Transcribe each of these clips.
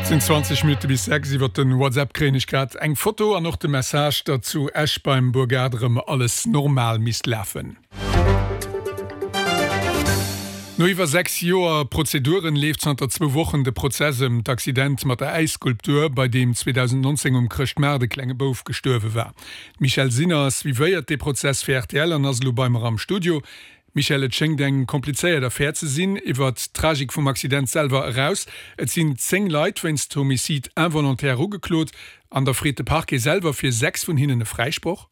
Et sinn 20 Minutte bis 6. Iwwer den WhatsApp kréien ech grad eng Foto an och de Message, datt zu Esch beim Bourgade erëm alles normal misst lafen. No iwwer 6 Joer Prozeduren leeft zanter zwou Wochen de Prozess ëm d'Accident mat der Äisskulptur, bei deem 2019 um Chrëschtmaart e klenge Bouf gestuerwe war. D'Michèle Sinner suivéiert dee Prozess fir rtl an ass elo bei mer am Studio. Michèle, et schéngt eng komplizéiert Affär ze sinn. Iwwer d'Tragik vum Accident selwer eraus, et sinn 10 Leit wéinst Homicide involontaire ugeklot an da freet de Parquet selwer fir 6 vun hinnen e Fräisproch.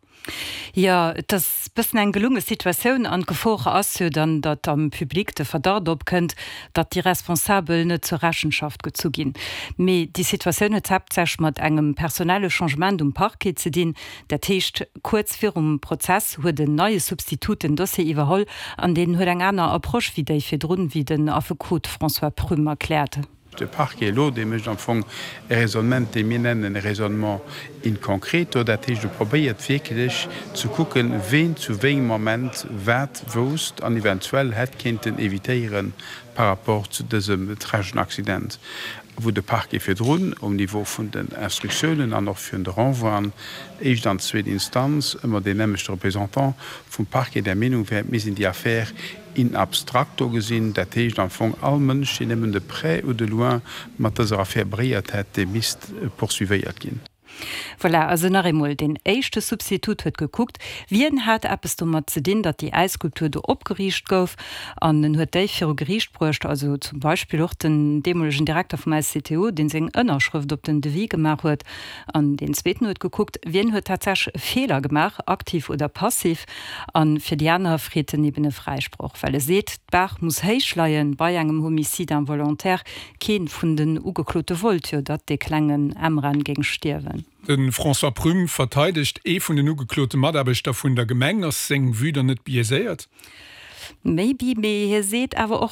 Jo, et ass bëssen eng gelunge Situatioun an d'Gefor ass jo dann, datt am Public de Verdacht opkënnt, datt déi Responsabel net zur Rechenschaft gezu ginn. Mee déi Situatioun huet haaptsächlech mat engem personelle Changement um Parquet ze dinn. Dat heescht, kuerz virum Prozess huet en neie Substitut den Dossier iwwerholl an deen huet eng aner Approche wéi déi virdrun, wéi den Affekot François Prüm erkläert. De Parquet elo, dee mécht am Fong e Raisonnement, dee mir nennen e Raisonnement in concreto. Dat heescht, e probéiert wierklech ze kucken, ween zu wéi engem Moment wat wousst an eventuell hätt kéinten évitéiere par rapport zu dësem trageschen Accident, wou de Parquet virdrun um Niveau vun den Instruktiounen an och virun de Renvoien, éischt an zweet Instanz, ëmmer deen nämmlechte Représentant vum Parquet der Meenung wär, et misst een déi Affär in abstracto gesinn, dat heescht am Fong all Mënsch, deen nëmmen de près ou de loin mat dëser Affär beréiert hätt, dee misst poursuivéiert ginn. Voilà, also nach eemol, deen éischte Substitut huet gekuckt, wien hat eppes domat ze dinn, datt déi Äisskulptur do opgeriicht gouf, an en huet déi viru Geriicht bruecht, also zum Beispill och den deemolegen Direkter vum SCTO, dee seng Ënnerschrëft op den Devis gemaach huet. An deen zweeten huet gekuckt, wien huet tatsächlech e Feeler gemaach, aktiv oder passiv. A fir déi aner freet en eben e Fräisproch, well e seet, d'Bar muss héich leien bei engem Homicide involontaire. Kee vun den Ugeklote wollt jo, datt dee klengen Emran géing stierwen. De François Prüm verteidegt ee vun den ugeklote Mataarbechter vun der Gemeng. Ass seng Vue dann net biaiséiert? Maybe, mee hie seet awer och.